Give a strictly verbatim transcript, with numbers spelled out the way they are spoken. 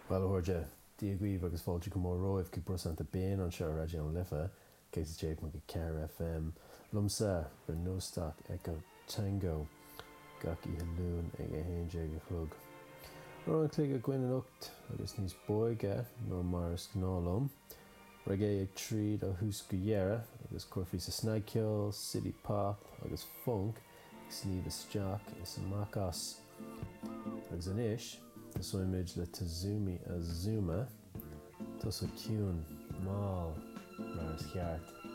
Bhuel, a chairde, Dia dhaoibh agus fáilte go mór romhaibh chuig Brosanta Binn anseo ar Raidió na Life, céad a sé ponc a ceathair FM. Liomsa, bhur n-óstach Echo Tango, gach oíche Luain ag a haon déag a chlog. Uair an chloig againn anocht agus níos bóige ná mar is gnáth liom. Reggae ag tríd ó thús go deireadh agus cuirfidh sa snagcheol, city pop agus funk ag sníomh isteach is amach as. Agus anois, tosóimid le Tazumi Azuma, tosach ciúin, mall, mar is ceart.